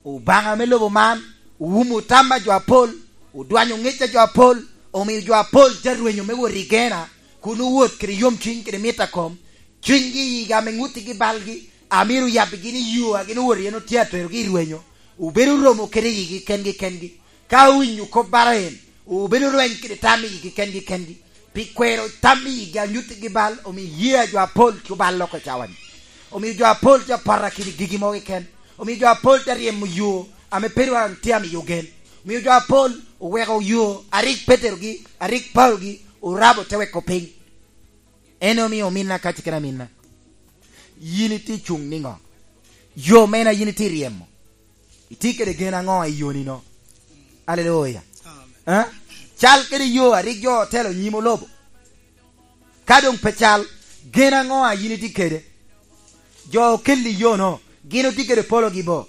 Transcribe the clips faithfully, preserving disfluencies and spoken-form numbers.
Obaŋa me lobo man owumo tam a jo apol, odwanyo ŋec a jo apol, omio jo apol te rwenyo me wot i gena, kun owot kede yomcuny kede mit a kom. Cunygi i yigi ame ŋuttigi balgi, a myero oyabbigi ni yo a gin owoto iye-nu tye aterogi i rwenyo, obedo romo kede yigi kengi kengi. Ka owinyo kop bara en, obedo rweny kede tam i yigi kengi kengi. Pi kwero tam i yigi a nyuttigi bal, omio iyee a jo apol tye obal loko cawa-ni. Omio jo apol tye apoto akidi gigi mogo keken. Omio jo apol tye aryemo yo ame pe ru tye amiyo gen. Omio jo apol oweko yo a rik Peterogi, a rik Paulogi orabo te weko piny. En omio ominna kaci kede aminna, yin itye cuŋ niŋo? Yo mene a yin itye ryemo? Itye kede gen aŋo i yonino? Aleluya. Amen. Eh? Cal kede yo a rik jo otelo nyim olobo. Ka doŋ pe cal, gen aŋo a yin itye kede? Jo okelli yo-no, gin otye kede pologi bo?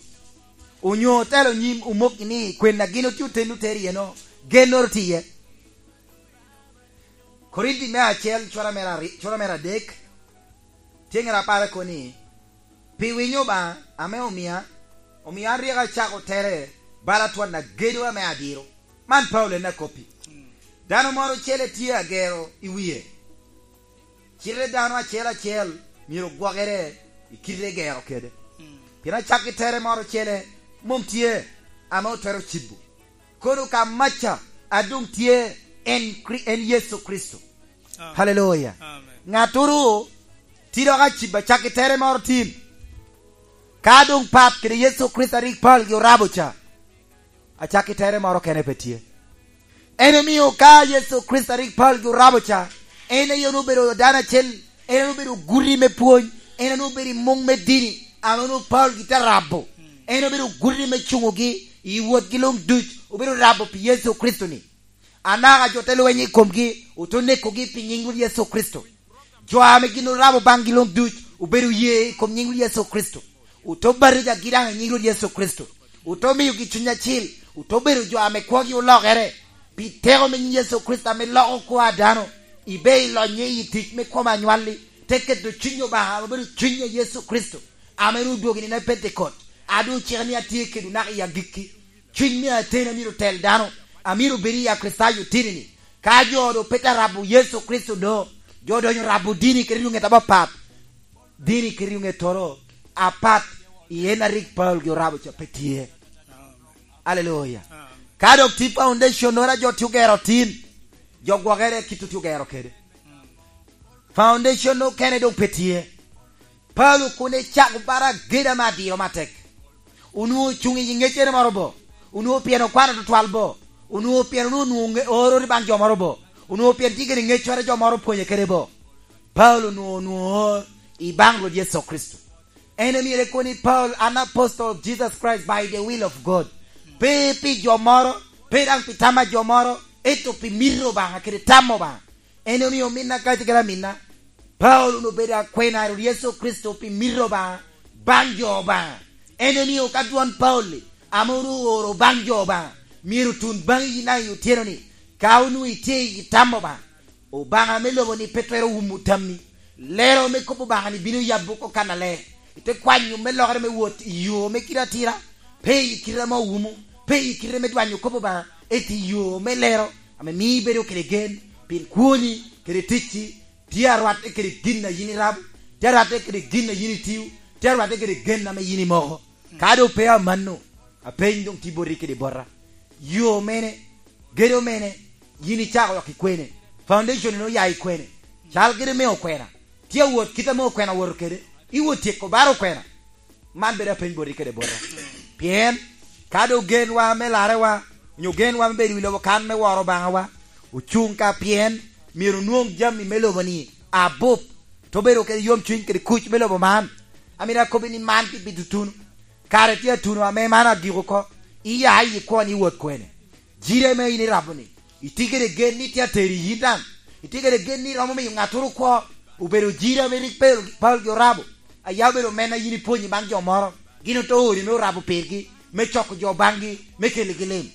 Onyo otelo nyim omokgi ni kwen a gin otye otennu tero iye-no, gennoro tye iye? Korinti me acel, cura mere ari-, cura mere adek, tye ŋera apar kono ni, "Pi winyo Obaŋa ame omia, omio an rik acako tere bala twon agedo ame adiro." Man Paulo en akoppi. Dano moro ocele tye agero i wie. Cite dano acel acel myero gwokere i kite egero kede. Pien acakki tere moro ocele mom tye ame otwero cibo. Kono ka maca a doŋ tye en Kri-, en Yecu Kricito. Amen. Haleluya. Amen. Ŋattoro tye dok acibo acakki tere moro tin. Ka doŋ pat kede Yecu Kricito a rik Paulo gi orabo ca, acakki tere moro kene pe tye. En omio ka Yecu Kricito a rik Paulo gi orabo ca, en aye onwoŋo obedo dano acel, en onwoŋo obedo guti me pwony, en onwoŋo obedo i muŋ me dini, ame onwoŋo Paulo gi te rabo. En obedo guti me cuŋogi i wotgi luŋ duc, obedo rabo pi Yecu Kricito-ni. Anaka jo te lweny i komgi, ote nekogi pi nyiŋ Rwot Yecu Kricito. Jo ame gin orabo baŋgi luŋ duc obedo ye i kom nyiŋ Rwot Yecu Kricito. Ote batijagi daŋ i nyiŋ Rwot Yecu Kricito. Ote miogi Cuny Acil. Ote bedo jo ame kwogi olokere. Pi teko me nyiŋ Yecu Kricito ame loko kwo a dano, ibe i lonye i tic me kom anywalli, te keto Cuny Obaŋa ame obedo Cuny a Yecu Kricito, ame ru odwogo i nino a Pentekot. A doŋ ocika ni atye kedwu naka i agikki. Cuny me ateni a myero tel dano, a myero bed i Akricitayo tini-ni. Ka jo doŋ pe te rabo Yecu Kricito do, jo odonyo rabo dini kede lwonget apapat. Dini kede lwongettoro apat i en a rik Paulo gi orabo ca pe tye. Aleluya. Ka dok tye foundation-noro a jo tye ogero tin, jo gwokere kit otye ogero kede. Foundation okene doŋ pe tye. Paulo kun ecako bara ageda me adiro matek. Onwoŋo ocuŋ i ŋeccere moro bo? Onwoŋo pien okwano tutwal bo? Onwoŋo pien onwoŋo nwoŋo ŋe-, ororo baŋ jo moro bo? Onwoŋo pien tye kede ŋeccoro jo moro opwonye kede bo? Paulo onwoŋo, onwoŋo oor i baŋ Rwot Yecu Kricito. En omyero ekobo ni, "Paul, an apostle of Jesus Christ by the will of God." Pe pi jo moro, pe daŋ pi tam a jo moro, ento pi mito Obaŋa kede tam Obaŋa. En omio ominna kacel kede aminna, Paulo onwoŋo obedo akwena a Rwot Yecu Kricito pi mito Obaŋa baŋ jo Obaŋa. En omio ka dwon Paulo-li ame onwoŋo ooro baŋ jo Obaŋa, myero otun baŋi yin daŋ i otyeno-ni, ka onwoŋo itye i tam Obaŋa. Obaŋa me lobo-ni pe twero wumo tammi. Lero me kop Obaŋa-ni bino yabo oko kannaler. Ite kwanyo me lokere me wot i yo me kite atira, pe i kite ame owumo, pe i kite me dwanyo kop Obaŋa, ento i yo me lero, ame mio ibedo kede gen, pien kwoni kede ticci tye arwatte kede gin a yin irabo, tye arwatte kede gin a yin itio, tye arwatte kede gen ame yin imoko. Ka doŋ pe amanno, apeny doŋ tye boti kede bota. Yo mene, gedo mene, yin icako dok i kwene? Foundation-ni oya i kwene? Cal kede me okwena. Tye awot kit ame okwena owoto kede. Iwot tyeko baro okwena? Man bedo apeny boti kede bota. Pien ka doŋ genwa me larewa, onyo genwa me bedo i lobo kan me woro Obaŋawa, ocuŋ ka pien myero onwoŋ jami me lobo-ni abup, te obedo kede yomcuny kede kuc me lobo man. Amito akobbi ni man pi, pi tutunu. Kare tye atuno ame man agiko oko. Iya i kwon iwot kwene? Jiri ame in irabo-ni, itye kede gen ni tye ateri yin daŋ? Itye kede gen ni romo miyo ŋattoro kwo? Obedo jiri ame rik Paulo, Paulo gi orabo. Aya obedo men a yin ipwonyo baŋ jo moro, gin ote ori me orabo pirgi, me coko jo baŋgi, me keligi lim.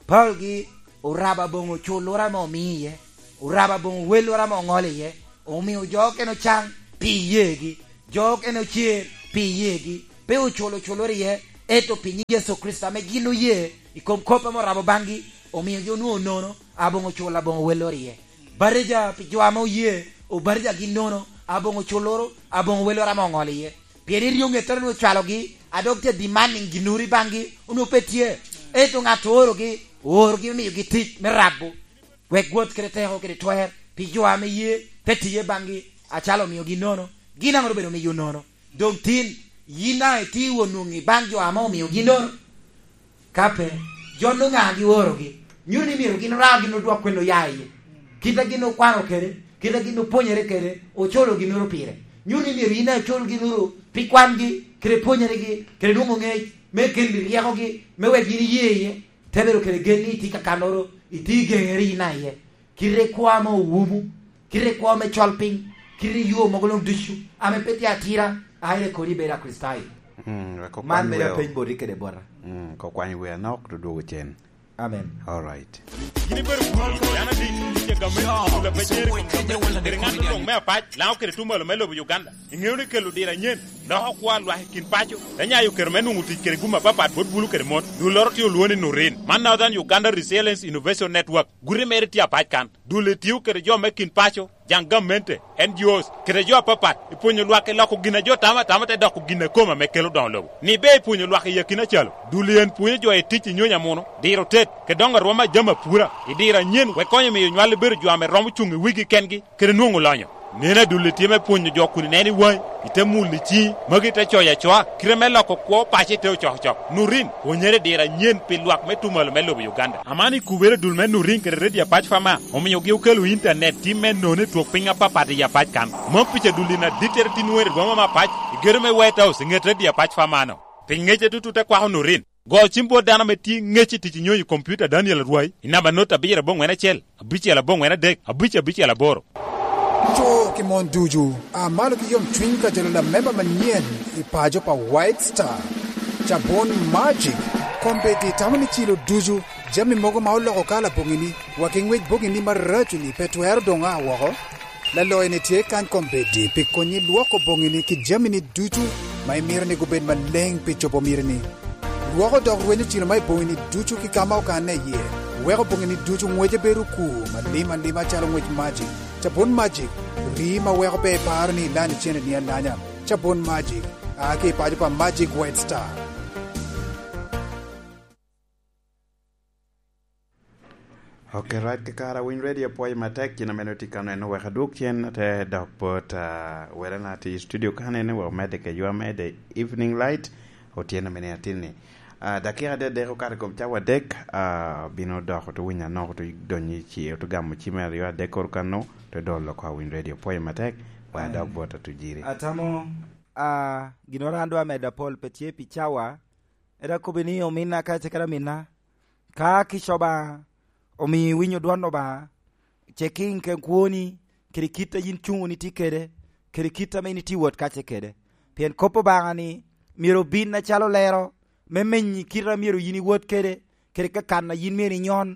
Paulo gi orabo aboŋo culloro ame omio iye, orabo aboŋo welloro ame oŋolo iye, omio jo okene ocaŋ pi iyeegi, jo okene ocer pi iyeegi, pe oculo culloro iye, Ento pi nyiŋ Yecu Kricito ame gin oye i kom kop ame orabo baŋgi, omiogi onwoŋo nono aboŋo cul aboŋo welloro iye. Batija pi jo ame oye, obatijagi nono aboŋo culloro aboŋo welloro ame oŋolo iye. Pien iryo ŋettoro ni ocwalogi, a dok tye demanding ginnoro i baŋgi, onwoŋo pe tye. Ento ŋat oorogi, oorogi me miyogi tic me rabo, wek gwot kede teko kede twer pi jo ame ye te tiye baŋgi, acalo omiogi nono, gin aŋo obedo miyo nono? Doŋ tin, yin daŋ itye won nwoŋi baŋ jo ame omiogi nono? Ka pe, jo nwoŋo ŋa giorogi? Nyuto ni myero gin ra gin odwok kwene oya iye. Kit a gin okwano kede, kit a gin opwonyere kede, ocolo ginnoro pire. Nyuto ni myero yin acol ginnoro pi kwangi, kede pwonyeregi, kede nwoŋo ŋec, me keli ryekogi, me wek yin iye iye, te bedo kede gen ni itye kakannoro, itye i geŋere yin a iye. Kite kwo ame owumu, kite kwo me col piny, kite yo mogo luŋ ducu, ame pe tye atira, aire kodi bedo Akricitayo. Mm, wek okwan Man mere weo. Apeny boti kede bota. Mm, kokwany wea nok, to dwogo cen. Amen. All right. Gin ibedo kwano dano adi, tic a gamme, tic a pecere, tic a gamme, kede ŋat luŋ me apac, Laŋo kede tuŋ malo me lobo Uganda. Iŋeo ni kelo diro anyen, loko kwo a lwak i kin paco, te nyayo kero me nwoŋo tic kede gum apapat bot bulu kede mon. Dulloro tye olwoŋo ni Nurin. Man Northern Uganda Resilience Innovation Network. Guti mere tye apac kan. Dul etio kede jo me kin paco, jaŋ gamente, N G Os, kede jo apapat, i pwonyo lwak i loko gin a jo tamo atama te doko gin a kome ame kelo doŋo lobo. Ni ber i pwonyo lwak i akina calo, dul en pwonyo jo i tic i nyonyo amuno, diro tet, kede doŋo arwom a jami apura, i diro anyen, wek konyo miyo nywal bedo jo ame romo cuŋ i wigi kengi, kede nwoŋo lonyo. Neno adulli tye me pwonyo jo kun ineno i waŋi, ite mulo i ciŋi, magi ite coyo acoa, kite me loko kwo paco ite ocokocok. Nurin, pwonyere diro anyen pi lwak me tumalo me lobo Uganda. Aman ikubere dul me Nurin kede Radio Apac Fama, omiogi okelo intanet tim me nono i twok piny apapat i Apac kan. Mom pica dulli na dittere tin wer i boma me Apac, i gedo me White House, i ŋet Radio Apac Fama-no. Pi ŋece tutu te kwako Nurin. Go cim bot dano ame tye ŋec i tic i nyonyo i kompiuta Daniel Arwai i namba not abiro aboŋwen acel, abicel aboŋwen adek, abic abicel aboro. Co ki mon ducu, a malo ki yomcwiny ka jolo lamemba manyen i paco pa White Star. Cabun Magic, kombeddi tamo ni cilo ducu, jami mogo ma oloko kala boŋini, wa ki ŋwec boŋini maraco-ni pe twero doŋ a woko. Laloyo-ni tye kany kombeddi pi konyi lwoko boŋini ki jamini ducu ma imito ni gubed maleŋ pi cobo mitini. Lwoko dok rwenyo cilo ma i boŋini ducu ki ka ma okanne iye, weko boŋini ducu ŋwece bedo okur malim alima acalo ŋwec Magic. Cabun Magic, rii ma weko pe iparo ni ilanyo ceneni alanya. Cabun Magic, a ki i paco pa Magic White Star. Ok, right, kakare, Winy Radio apwoyo matek, cen amene otye ka neno, wek adwog cen, te dok bot, ah, wele na tye i studio kanene, wek omedde kedwa, amedde Evening Light, Otyeno mene atinni. Ah, dakika adek dek okato i kom cawa adek, ah, bino dok oto winyo anok, oto donyo i ci, oto gamo cime aryo adek kor kano, oto dolo oko a Winy Radio apwoyo matek, wek adok bot Atujiri. Atamo, ah, ginnoro an dwa medo apol pe tye pi cawa, eda kobo ni ominna ka ce kede aminna, ka kica Obaŋa omio iwinyo dwon Obaŋa, ce kiŋ ken kwoni, kede kit a yin cuŋ wunu itye kede, kede kit ame yin itye wot kace kede. Pien kop Obaŋa-ni myero obin acalo lero, me menyi kit a myero yin iwot kede, kede kakan a yin myero inyon,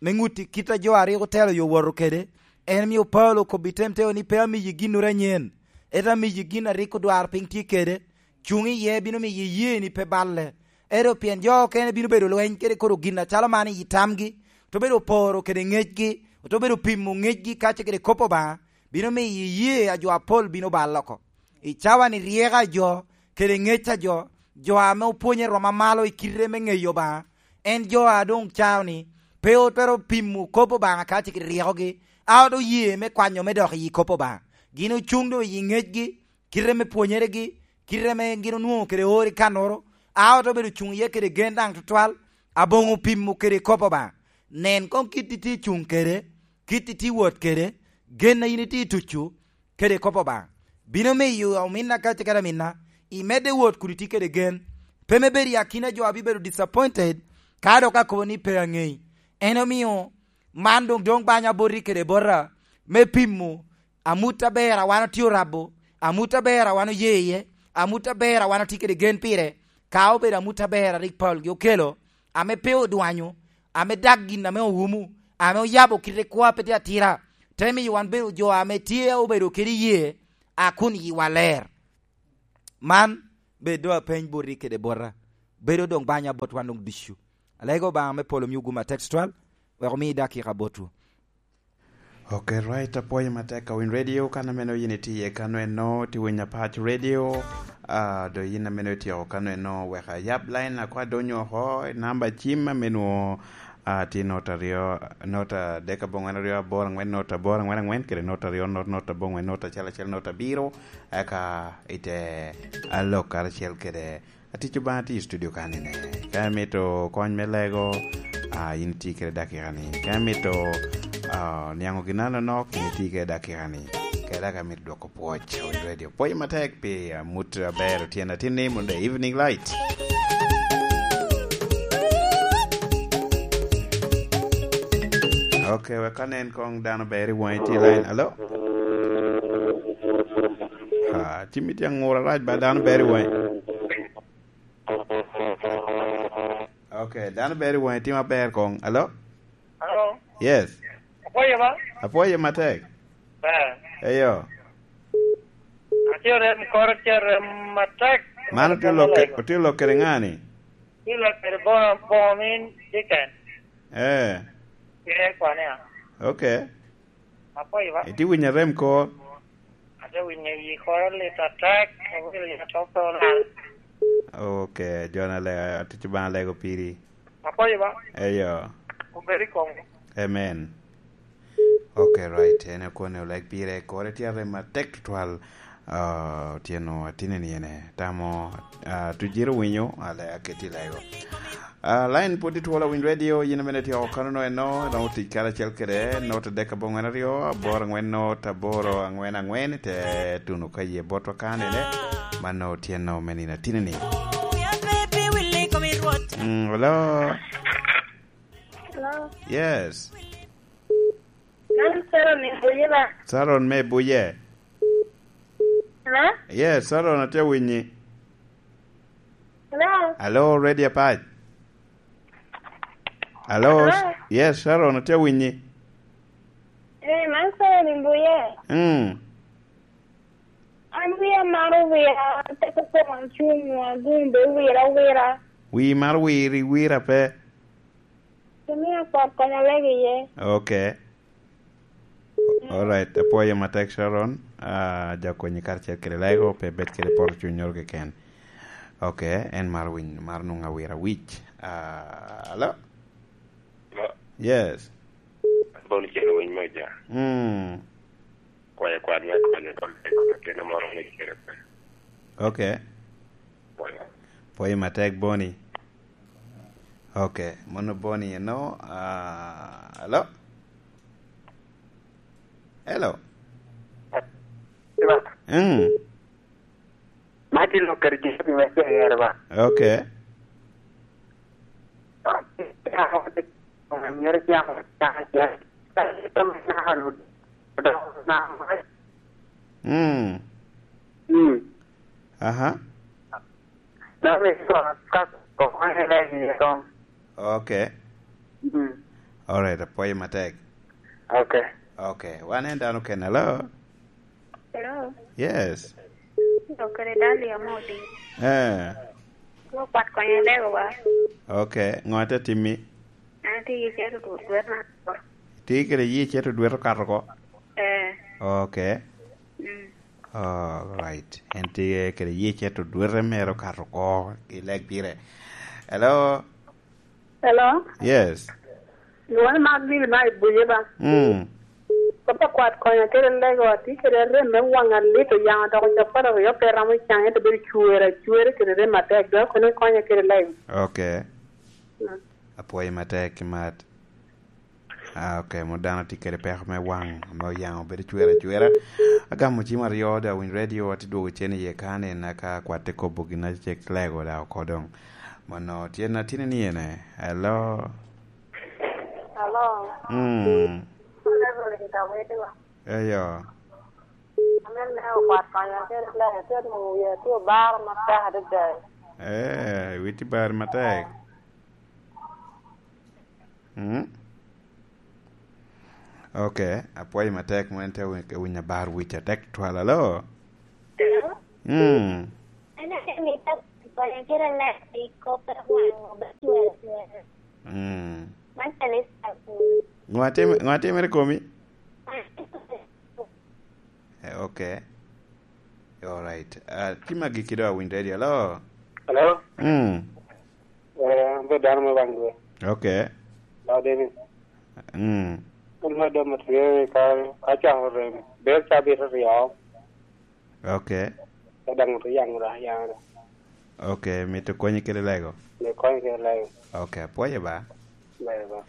me ŋutti kit a jo a rik otelo yo woto kede. En omio Paulo okobbi temteo ni, "Pe amiyi ginnoro anyen, ento amiyi gin a rik odwar piny tye kede." Cuŋ iye bino miyo iyee ni pe balle. Ento pien jo okene bino bedo lweny kede koro gin acalo man i tamgi, oto bedo poro kede ŋecgi, oto bedo pimo ŋecgi kace kede kop Obaŋa, bino miyo iyee a jo apol bino bal oko. I cawa-ni ryeko a jo, kede ŋec a jo, jo ame opwonye roma malo i kite me ŋeyo Obaŋa, en jo a doŋ cao ni, pe otwero pimo kop Obaŋa kace kede ryekogi, a oto ye me kwanyo me dok i kop Obaŋa. Gin ocuŋ doŋ i ŋecgi, kite me pwonyeregi, kite ame gin onwoŋo kede oro i kannoro, a oto bedo cuŋ iye kede gen daŋ tutwal, aboŋo pimo kede kop Obaŋa. Nen koŋ kit itye cuŋ kede, kit itye wot kede, gen a yin itye tucu kede kop Obaŋa. Bino miyo ominna kace kede aminna, imedde wot kun itye kede gen, pe me bedo i akina jo a bibedo disappointed, ka dok akobo ni pe aŋei. En omio, man doŋ, doŋ banya boti kede bota, me pimo amut aber a wan otye orabo, amut aber a wan oye iye, amut aber a wan otye kede gen pire, ka obedo amut aber a rik Paulo-gi okelo, ame pe odwanyo, ame dak gin ame owumo, ame oyabo kite kwo a pe tye atira, te miyo wan bedo jo ame tye obedo kede yee, a kun yiwa ler. Man bed doŋ apeny boti kede bota. bedo doŋ banya bot wan doŋ ducu. Alego Obaŋa me polo miwu gum a text twal, wek omi dakika botwu. Ok, right, apwoyo matek ka winy radio, kan ameno yin itye iye kano eno, ti winy apac radio, ah, do yin ameno ityeko kano eno, wek ayab line akwa donyo oko, namba cim ameno, ah, tye not aryo, not adek aboŋwen aryo aboro angwen, not aboro angwen angwen, kede not aryo, not, not aboŋwen, not acel acel, not abiro, eka ite alok karacel kede Atic Obaŋa tye i studio kanni ne. Ka imito kony me lego, ah, in itye kede dakika ni. Ka imito, ah, niaŋo gin anonok, in itye kede dakika ni. Kede ka imito dwoko pwoc, Awil Radio. Pwoc matek pi amut aber otyeno atin ni, Monday Evening Light. Ok, wek anen kong dano ber i wang'i, tye i line. Alo? Ah, cimmi tye aŋura rac ba, dano ber i wang'i. Ok, dano ber i wang'i, tye maber kong. Alo? Alo? Yes. Apwoyo ba? Apwoyo matek. Ber. Eyo. Atye rem koro, tye rem matek. Man otye lok, otye lok kede ŋa ni? Tye lok kede boŋo, boŋo min Dickens. Eh. Tye kwane a? Ok. Apwoyo ba? Itye winyo arem kor? Ate winyo yi koro lit atek, awinyo lit atok pe olal. Ok, Jona le, atic Obaŋa lego piri. Apwoyo ba? Eyo. Obed i kom. Amen. Ok, right. En akwone oleg pire, kore tye arem matek tutwal. Ah, otyeno atinni ene. Tamo, ah, tujiro winyo, ale aketi lego. Ah, line pwod itwolo Winy Radio, yin amene tye oko kanono eno, romo tic karacel kede, not adek aboŋwen aryo, aboro angwen not aboro angwen angwen, te tuno ka ye botwa kanene, mano otyeno me nino atinni. Mm, hello? Hello? Yes. Mano Sharon i Buye ba? Sharon me Buye. Hello? Yes, Sharon, atye winyi. Hello? Hello, Radio Apac. Hello? Hello? Yes, Sharon, atye winyi. Eh, man Sharon i Buye. Mm. An wiya maro wira, teko koŋ acung, agumbe wira wira. Wi maro wiri wira pe? Kimia kwat konya lego iye. Ok. Alright, apwoyo matek, Sharon. Ah, ja konyi karacel kede lego, pe bed kede poto cuny nyoro keken. Ok, en mar winy, mar nwoŋo awira wic. Ah, alo? Alo? Yes. Bon cen winy me ja. Mm. Kwayo kwat me konyo kong kene moro ni kere pe. Ok. Pwoyo. Pwoyo matek, Boni. Ok, mono Boni eno, ah, hello? Hello? Hello? Mm. Ma tye lok kede Jehovah me Jireh ba? Ok. Myero camo camo camo. Mm. Mm. Aha. Dok iko ka okonye legi i kom. Ok. Mm. Alright, apwoyo matek. Ok. Ok, wan en dano kene, hello? Hello? Yes. Dokere Dalia Modi. Eh. Wo kwat konyo lego wa. Ok, ŋo ate timmi? An atye i cero dwe, dwe mar aboro. Itye kede yie cito dwete okato oko? Eh. Ok. Mm. All right. En tye kede yie cito dwete mere okato oko i leg pire. Hello? Hello? Yes. Lwonga Magdil ma i Buye ba. Mm. Papa kwat konya kede lego, atye kede rem me wanga lit oyaŋa dok ocapat aryo pe ramo caŋ, ento bedo cwer acwera kede rem atek, dok kono ikonya kede lego. Ok. Mm. Apwoyi matek, Kimat. Ah, ok, mo dano tye kede peko me waŋ ame oyaŋo bedo cwer acwera. Agamo cim aryo, da winy radio, atye dwogo cen iye ka ni naka kwat te kobo gin acek lego da oko doŋ. Mono tyen atini ni ene. Hello? Hello? Mm. Hello, Reverend Kawete wa. Eyo. Amen, ne okwat konya, kel lego, kel nwoŋo wiya tye obaro matek adada. Eh, witi bar matek. Mm? Ok, apwoyo matek, mwen te wi-, winyo abar wic atek twal, alo? Hello? Mm. An atye mito Konya kede ler i kop a waŋ obe cwer acwera. Mm. Man kanisa kun. Ŋo atim-, ŋo atimere komi? Eh, ok. All right. Ah, tye magi kede Awiny Radio. Hello? Hello? Mm. Eh, an pe dano me waŋ dwe. Ok. Law David. Mm. An me dano me tye ka, ka cako rem. Ber cabit aryo. Ok. Ka daŋ oto yaŋ ra, yaŋ ra. Ok, mito konyi kede lego? Me konyi kede lego. Ok, apwoyo ba. Ber ba.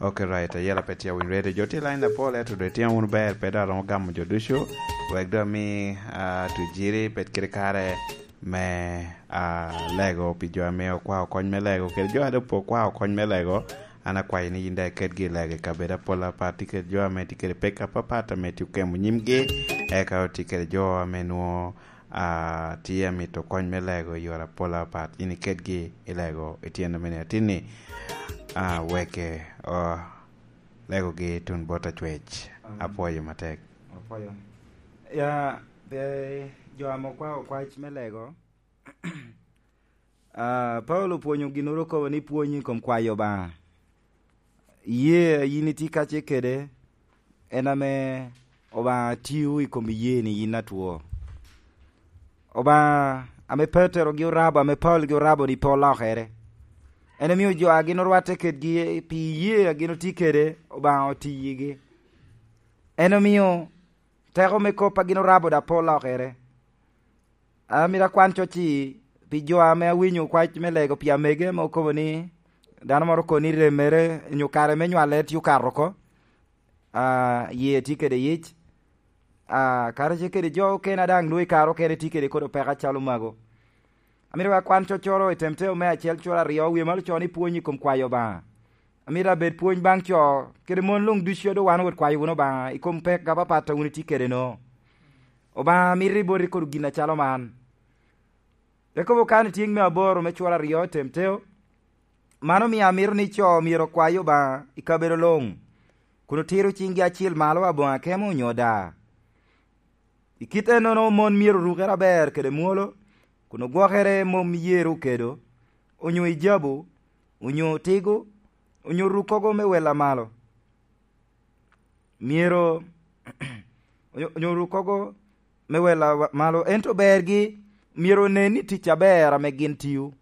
Ok, right, ayela pe tye Awiny Radio. Jo tye line apol, ento doŋ itimo wunu ber, pe dok aromo gamo jo ducu. Wek doŋ ami, ah, Tujiri bed kede kare me, ah, lego pi jo ame okwao kony me lego, kede jo a doŋ pe okwao kony me lego. An akwayo ni yin daŋ iketgi i lego i kabedo apol apat, tye kede jo ame tye kede pek apapat ame tye okemo nyimgi, eka otye kede jo ame nwoŋo, ah, tye amito kony me lego i yore apol apat. Yin iketgi i lego i tyen ame ni atinni, ah, wek, oh, legogi tun bot acwec. Amen. Apwoyo matek. Apwoyo. Ya, pe jo ame okwao kwac me lego, Ah, Paulo opwonyo ginnoro okobo ni pwony i kom kwayo Obaŋa. Iyee a yin itye kacce kede, en ame Obaŋa tio i kom iyee-ni yin atwo. Obaŋa ame Petero gi orabo, ame Paulo gi orabo ni pe olokere. En omio jo a gin orwatte kedgi pi iyee a gin otye kede, Obaŋa otiyigi. En omio teko me kop a gin orabo daŋ pe olokere. Amito akwan coc-ci pi jo ame awinyo kwac me lego pi amege ame okobo ni dano moro okobo ni remmere onyo kare me nywale tye okato oko. Ah, yee tye kede yic. Ah, kara ce kede jo okene a daŋ nwoŋo i kare okene tye kede kodi peko acalo mago. Amito akwan coccoro i Temoteo me acel cura aryo, wie malo co ni pwony i kom kwayo Obaŋa. Amito abed pwony baŋ co kede mon luŋ ducu a doŋ wan owot kwayo wunu Obaŋa i kom pek apapat a wun itye kede-nu. Obaŋa mito i boti kodi gin acalo man. Yakobo kan i tyeŋ me aboro me cura aryo i Temoteo, man omio amito ni co myero okwayo Obaŋa i kabedo luŋ, kun otiro ciŋgi acil malo aboŋo akemo onyo daa. I kit ennono mon myero orukere aber kede mwolo, kun ogwokere mom i yer okedo, onyo i jabu, onyo otigo, onyo rukkogo me wel amalo. Myero, onyo, onyo rukkogo me wel amalo, ento bergi myero onen ni tic aber ame gin tio.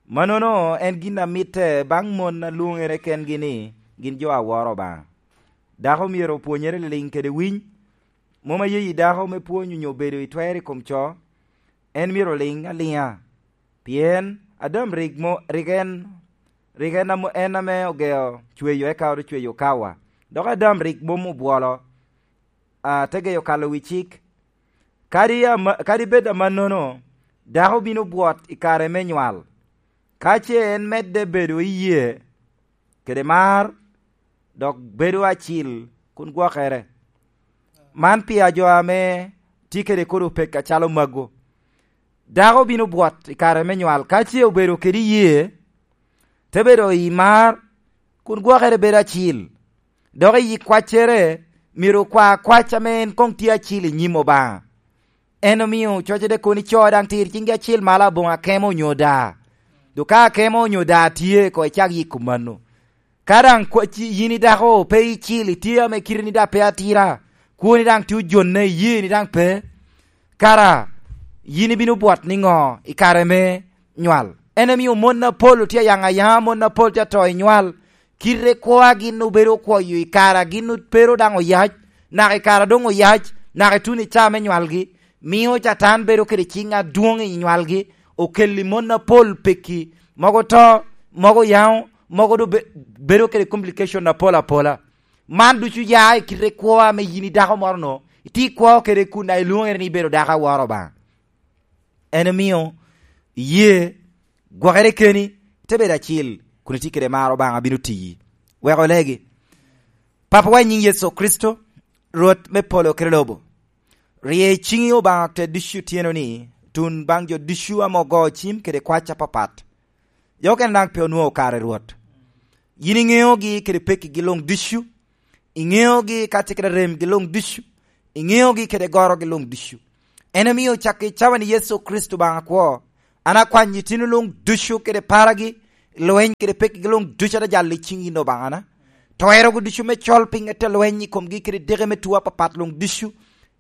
Mannono en gin a mitte baŋ mon a lwoŋere kengi ni gin jo a woro Obaŋa. Dako myero opwonyere liliŋ kede winy, mom aye i dako me pwony onyo bedo i twer i kom co, en myero oliŋ aliŋa. Pien Adam rik mo-, rik en, rik en amo-, en ame ogeo cweyo, eka ote cweyo Kawa. Dok Adam rik mom obwolo, a, te geyo kalo wi cik. Kadi ama-, kadi bed amannono, dako bino bwot i kare me nywal. Ka ce en medde bedo i yee, kede mar, dok bedo acil kun gwokere. Man pi jo ame tye kede kodi opek acalo mago. Dako bino bwot i kare me nywal, ka ce obedo kede iyee, te bedo i mar, kun gwokere bedo acil. Dok i kwaccere, myero okwa kwac ame en koŋ tye acil i nyim Obaŋa. En omio cocere kono ico daŋ tir ciŋgi acil malo aboŋo akemo onyo daa. Dok ka akemo onyo daa tye, koŋ icak yiko mano. Ka daŋ kwa-, ci-, yin i dako pe icil, itye ame kite ni daŋ pe atira, kwoni daŋ tye ojonne, iyee ni daŋ pe, kara yin ibino bwot niŋo i kare me nywal? En omio mon apol otye ayaŋ ayaŋa, mon apol tye ato i nywal, kite kwo a gin obedo okwoyo i kare a gin pe ru daŋ oyac, naka i kare a doŋ oyac, naka i tuno i caa me nywalgi, mio Catan bedo kede ciŋ adwoŋ i nywalgi, okelli mon apol pekki, mogo to, mogo yaŋo, mogo doŋ be-, bedo kede complication apol apola. Man ducu ya i kite kwo ame yin i dako moro-nu, itye ikwo kede kun daŋ ilwoŋere ni ibedo dako aworo Obaŋa. En omio iyee gwokere keni, ite bedo acil, kun itye kede mar Obaŋa bino tiyi. Wek olegi. Papawa i nyiŋ Yecu Kricito, Rwot me polo kede lobo, rye ciŋi Obaŋa te ducu otyeno-ni, tun baŋ jo ducu ame ogo cim kede kwac apapat. Jo okene daŋ pe onwoŋo kare, Rwot. Yin iŋeogi kede pekkigi luŋ ducu, iŋeogi kacel kede remgi luŋ ducu, iŋeogi kede gorogi luŋ ducu. En omio cak i cawa ni Yecu Kricito Obaŋa akwo, An akwanyo itino luŋ ducu kede paragi, lweny kede pekigi luŋ ducu adajallo i ciŋ yin Obaŋana. Twerogo ducu me col piny ete lweny i komgi kede deke me tuo apapat luŋ ducu.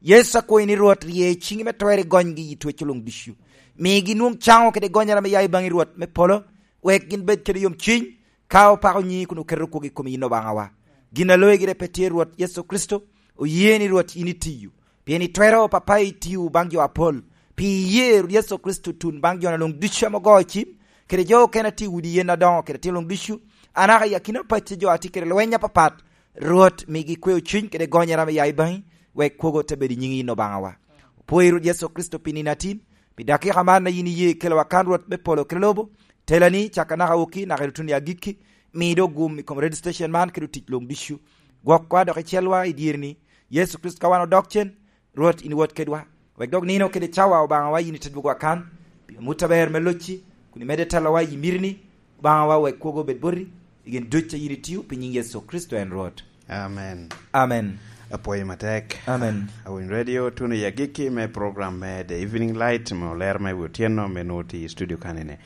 Yecu akwayi ni Rwot rye ciŋi me twer i gonygi i twecco luŋ ducu. Migi nwoŋ caŋo kede gonyere ame ya i baŋi Rwot me polo, wek gin bed kede yomcuny, ka opako nyiŋi kun oketo kwogo i kom yin Obaŋawa. Gin a loye gire pe tye Rwot Yecu Kricito, oye ni Rwot yin itiyo. Pien itwero, Papa, itiyo baŋ jo apol. Pi iye Rwot Yecu Kricito tun baŋ jo-na luŋ ducu ame ogo cim, kede jo okene a tye i udi yen adoŋo kede atino luŋ ducu, anaka i akina pacci jo a tye kede lweny apapat, Rwot, migi kweo cuny kede gonyere ame ya i baŋi, wek kwogo te bedo i nyiŋi yin Obaŋawa. Opwoyi Rwot Yecu Kricito pi nino atin, pi dakika man a yin iye kelowa kan Rwot me polo kede lobo, telani, caka naka wokki, naka i tuno i agikki, mi dok gum i kom radio station man kede otic luŋ ducu. Gwokwa dok icelwa i dyereni, Yecu Kricito, ka wan odok cen, Rwot, in iwot kedwa. Wek dok nino kede cawa, Obaŋawa, yin ite dwogowa kan, pi amut aber me locci, kun imedde telowa i mitini, Obaŋawa, wek kwogo obed boti, i gin duc a yin itio, pi nyiŋ Yecu Kricito en Rwot. Amen. Amen. Apwoyo matek. Amen. Awiny Radio tuno i agikki me program me The Evening Light, me olero me wi otyeno, me nwoŋo tye i studio kanene.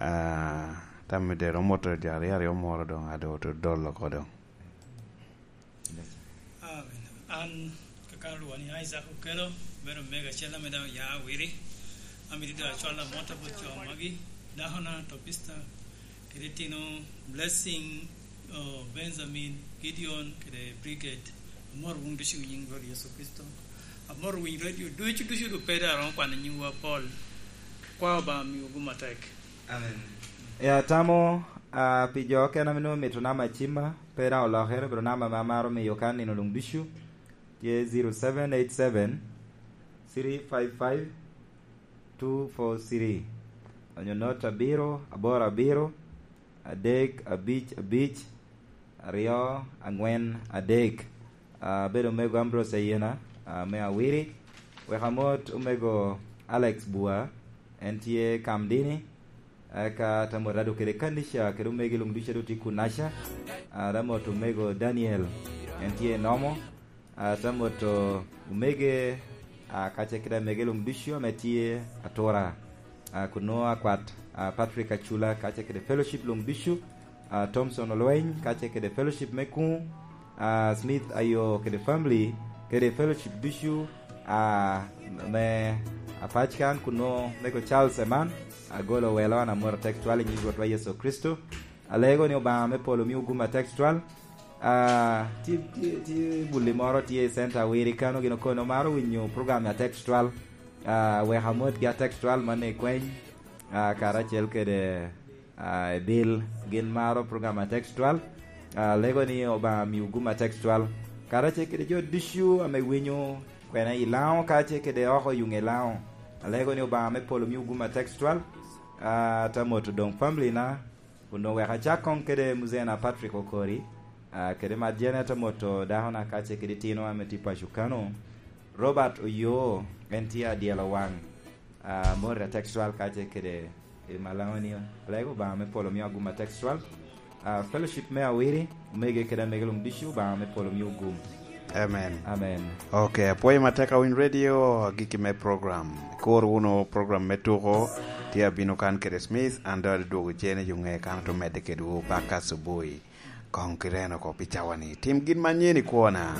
Ah, tam me dero moto jo aryo aryo moro doŋ, ado to dolo oko doŋ. Amen. An, kakano lwonga ni Isaac Okello, bedo mega acel ame daŋ oya Awiri. Amito doŋ acwal amot bot jo magi, dakona Topista, kede itino Blessing, oh, Benjamin, Gideon, kede Brigade. Amot wun ducu i nyiŋ Rwot Yecu Kricito. Amot winy radio ducu, ducu, dok pe daŋ aromo kwano nyiŋwu apol. Kwa Obaŋa miwu gum atek. Amen. E atamo, ah, pi jo okene ame nwoŋo mito namba acima, pe daŋ olokere, obedo namba ame amaro miyo kan nino luŋ ducu, tye zero seven eight seven, three five five, two four three, onyo not abiro, aboro abiro, adek, abic, abic, aryo, aŋwen, adek. Ah, abedo omego Ambrose Ayena, ah, me Awiri. Wek amot omego Alex Bua, en tye Kamdini. Eka ata mot ado kede kanica kede omego luŋ ducu a doŋ tye kunaca. Ah, ata mot omego Daniel, en tye Nomo. Ah, ata mot omege, ah, kace kede amege luŋ ducu ame tye atura. Ah, kun nwoŋo akwat, ah, Patrick Acula, kace kede fellowship luŋ ducu, ah, Thomson Olweny, kace kede fellowship me kuŋ, ah, Smith Ayo kede family, kede fellowship ducu, ah, me apac kan, kun nwoŋo mego Charles Eman, agolo welo an amoro tek twal i nyiŋ Rwotwa Yecu Kricito. Alego ni Obaŋa me polo miwu gum atek twal. Ah, tye, tye, tye bulli moro tye i center Awiri kano, gin okono maro winyo program atek twal. Ah, wek amotgi atek twal man i kweny, ah, karacel kede, ah, Ebil, gin maro program atek twal. Ah, alego ni Obaŋa miwu gum atek twal. Karacel kede jo ducu ame winyo kwena i Laŋo, kace kede oko yuŋ i Laŋo. Alego ni Obaŋa me polo miwu gum atek twal. Ah, ata mot doŋ family na, kun doŋ wek acak koŋ kede Muzena Patrick Okori, ah, kede Marjane, ata mot dakona kace kede tino ame tye paco kano. Robert Oyoo, en tye adyelo waŋ, ah, mot atek twal kace kede i Malaŋo ni, alego Obaŋa me polo miyo agum atek twal. Ah, fellowship me Awiri, omege kede amege luŋ ducu, Obaŋa me polo miyo gum. Amen. Amen. Ok, apwoyo matek awiny radio, agikki me program. Kur wunu program me tuko, tye abino kan kede Smith, an doŋ adwogo cene jo ŋe kan to medde kedwu baka subui. Koŋ kireno oko pi cawa ni, tim gin manyen i kwona.